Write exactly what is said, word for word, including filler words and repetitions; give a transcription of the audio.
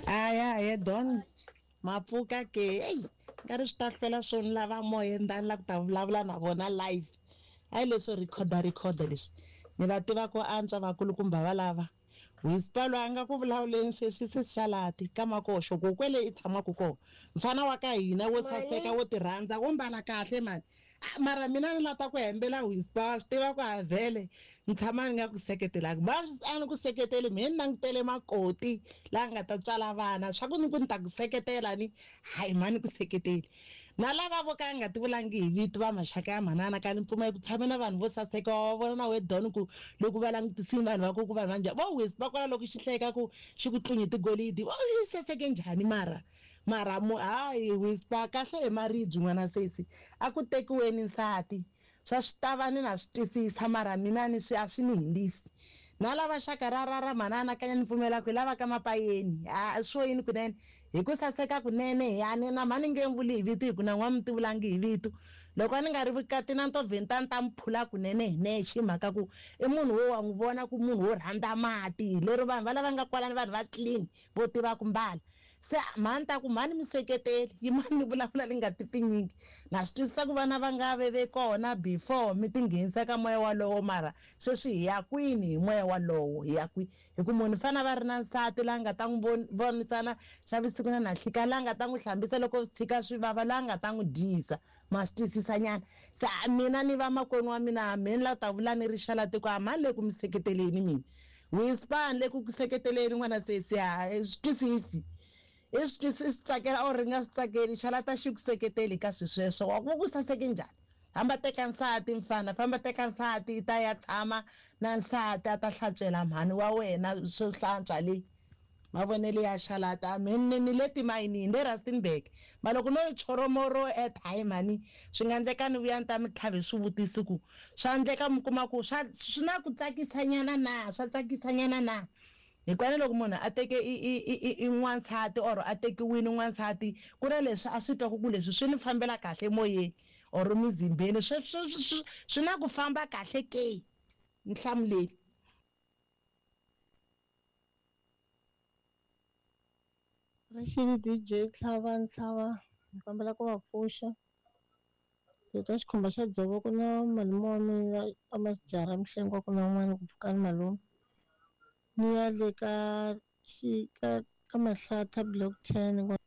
Aya he Don mapfuka ke eyi nkarhi swi ta hlwela swo ni lava moya ni ta ni lava ku ta vulavula na vona live. Hayi leswo rhikhoda rhikhoda leswi ni va tiva ku antswa vakulukumba valava. Whisper loyi a nga ku vulavuleni sweswi se xalati ka makoxo ku kwele i tshamaka kona mfana wa ka hina wo saseka wo ti rhandza wo mbala kahle mani. Mara mina ni lava ku hembela Whisper swi tiva ku a vhele ni tshama ni nga ku seketelaki va a ni ku seketeli mehe ni langutele makoti laha nga ta tswala vana swa ku ni ku ni ta ku seketela ni hayi mhani ku seketeli na lava vo ka nga ti vulangi hi vito va maxaka ya manana ka ni pfumela ku tshame na vanhu vo saseka wa vona na we Don ku loko va langutisini vanhu va ku ku vanhu va njhani vo Whisper kwala loko xi hleka ku xi ku tlunyi tigolidi vo xi saseke njhani mara mara mu hayi Whisper kahle hi maribye n'wana sesi a ku tekiweni nsati swa swi ta va ni na swi twisisa mara mina ni swi a swi ni hindzisi na lava xaka ra ra ra manana kanya ni pfumela ku hi lava ka mapayeni a swo yini kunene hi ku saseka kunene ya ni na mhani nge vuli hi vito hi ku na n'wa mi ti vulangi hi vito loko a ni nga ri vukati na ntovheni ta ni ta mi phula kunene hi nexe hi mhaka ku i munhu wo wa n'wi vona ku munhu wo rhandza mati lero vanhu va lava nga kwalani vanhu va clean vo tiva ku mbala se mhani ta ku mhani mi seketeli yimani ni vulavula ni nga ti pfinyingi na swi twisisa ku vana va nga ve ve kona before mi ti nghenisa ka moya walowo mara sweswi hi ya kwini hi moya walowo hi ya kwihi hi ku munhu fana va ri na nsati la nga ta n'wi vonisana xa vusiku na nanhlika la nga ta n'wi hlambisa loko swi tshika swi vava la nga ta n'wi dyisa ma swi twisisa nyana se mina ni va makwenu wa mina me ni lava ku ta vula ni ri xalati ku a mhani le ku mi seketeleni mina Whisper ni le ku ku seketeleni n'wana sesi ha swi twisisi i swi twisisi swi tsakela or ri nga swi tsakeli xalata xi ku seketeli ka swi sweswo wa ku ku saseke njhani famba teka nsati mfana famba teka nsati i ta ya tshama na nsati a ta hlantswela mhani wa wena swo hlantswa leyi mavonelo ya xalata me ni ni le timayinini le Rustenburg ma loko no choromoro airtime mhani swi nga endleka ni vuya ni ta mi tlhava hi swivutiso ku swa endleka mi kuma ku swa swi na ku tsakisanyana na swa tsakisanyana na hikwalaho loko munhu a teke i i i i n'wansati or a tekiwile n'wansati ku na leswi a swi twaku ku leswi swi ni fambela kahle emoyeni or mizimbeni swi swi swi swi na ku famba kahle ke nhlamuleli. Rixile D J Tlhava Ntlhava ni kombela ku va pfuxa eka xikhumba xa dzovo ku na malume wa mina a masijara Mhlengwa ku na un'wana ku pfuka ni malume ni ya le ka xi ka ka Mahlatha block ten.